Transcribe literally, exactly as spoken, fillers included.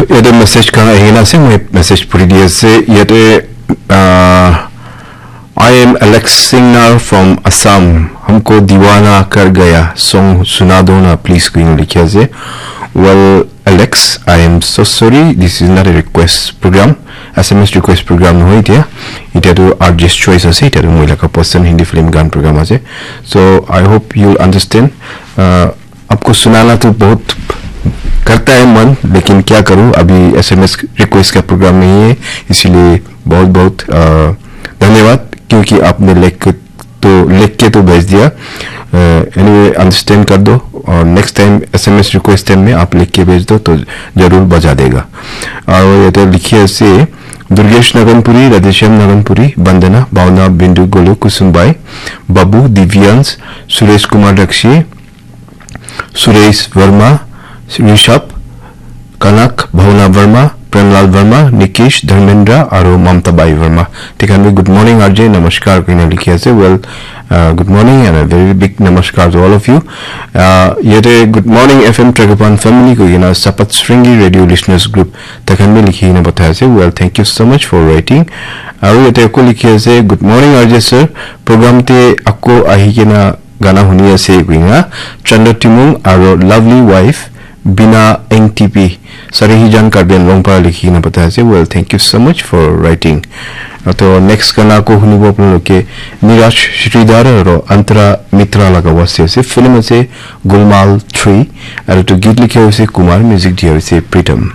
Yate message khan ahi kena ase, moi message puri di ase. Yate, uh, "I am Alex Singnar from Assam. Humko diwana kar gaya. Song suna do na, please," koi kena likhi ase. Well, Alex, I am so sorry. This is not a request program. S M S request program nohoi etia. Etia tu R J's choice ase. Etia tu moi laga person Hindi film gan program ase. So, I hope you'll understand. Uh, आपको सुनाना तो बहुत करता है मन, लेकिन क्या करूं, अभी एसएमएस रिक्वेस्ट का प्रोग्राम नहीं है, इसीलिए बहुत बहुत अ, धन्यवाद, क्योंकि आपने लिख के तो लिख के तो भेज दिया। एनीवे, अंडरस्टैंड कर दो, और नेक्स्ट टाइम एसएमएस रिक्वेस्ट टाइम में आप लिख के भेज दो तो जरूर बजा देगा। और ये तो लिखिए से दुर्गेश नगनपुरी, राधेश्याम नगनपुरी, वंदना, भावना, बिंदु, गोलू, कुसुम बाई, बाबू, दिव्यांश, सुरेश कुमार रक्षी, सुरेश वर्मा, ऋषभ, कनक, भावना वर्मा, प्रेमलाल वर्मा, निकेश, धर्मेंद्र, आरो ममता बाई वर्मा। They can be, "Good morning, R J, namaskar," koi kena likhi ase. Well, uh, good morning and a very big namaskar to all of you. Uh, yate Good Morning F M Tragapan family koi kena Sapat Sringi Radio Listeners Group, they can be likhi kena pathai ase. Well, thank you so much for writing. Aru yate ako likhi ase, "Good morning, R J sir. Program te ako ahi kena gana huni ase," koi kena Chandra Timung aro lovely wife Bina N T P, Sarihijan, Karbi Anglong para likhi kena pathai ase. Well, thank you so much for writing. Ato next gana ako hunibo apnaloke Niraj Sridhar aro Antara Mitra laga waste ase. Film ase Gulmaal three, aro to git likhi ase Kumar, music dia ase Pritam.